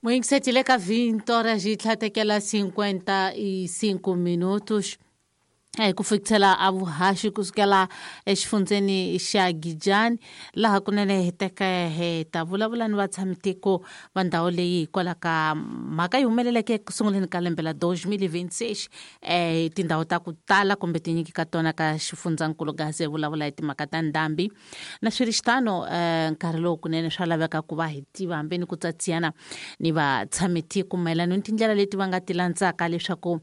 Moingiseti ka 20 horas yi tlhatekela 55 minutos ku fikisela a vuhaxi kusukela exifundzeni xa Gijani, laha kunene hi teka hi ta vulavula ni vatshamitiko va ndhawu leyi hikwalaho ka mhaka yi humeleleke eku sunguleni ka lembe la 2026 tindhawu ta ku tala kumbe tinyingi ka tona ka xifundzankulu Gaza hi vulavula hi timhaka ta ndhambi. Na swi ri xitano, nkarhi lowu kunene swa laveka ku va hi tiva hambi ni ku tsatsiyana ni vatshamitiko mayelana ni tindlela leti va nga ti landzaka leswaku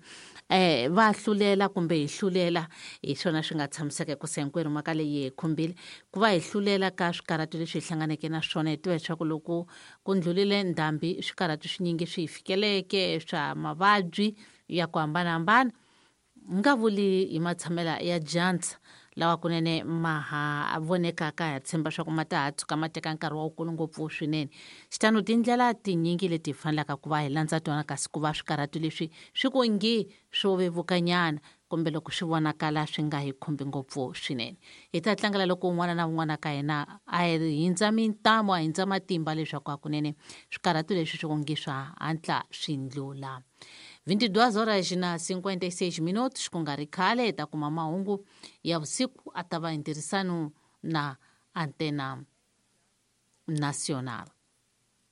va hlulela kumbe hi hlulela. Hi swona swi nga tshamiseka hikusa hinkwerhu mhaka leyi hi khumbile ku va hi hlulela ka swikarhato leswi hi hlanganeke na swona. Hi tiva leswaku loko ku ndlhulile ndhambi swikarhato swinyingi swi hi fikeleke swa mavabyi ya ku hambanahambana, nga vuli hi matshamela ya dyandza lawa kunene ma ha vonekaka, ha tshemba swa ku ma ta ha tshuka ma teka nkarhi wa wukulu ngopfu swinene. Xitano tindlela tinyingi leti hi fanelaka ku va hi landza tona, kasi ku va swikarhato leswi swi ku ngi swo vevukanyana kumbe loko swi vonakala swi nga hi khumbi ngopfu swinene. Hi ta tlangela loko un'wana na un'wana ka hina a hindza mintamu, a hindza matimba leswaku hakunene swikarhato leswi swi ku ngi swa hatla swi ndlula. 22 horas na 56 minutos, ku nga ri khale hi ta kuma mahungu ya vusiku, a ta va hi ntirhisano na Antena Nacional.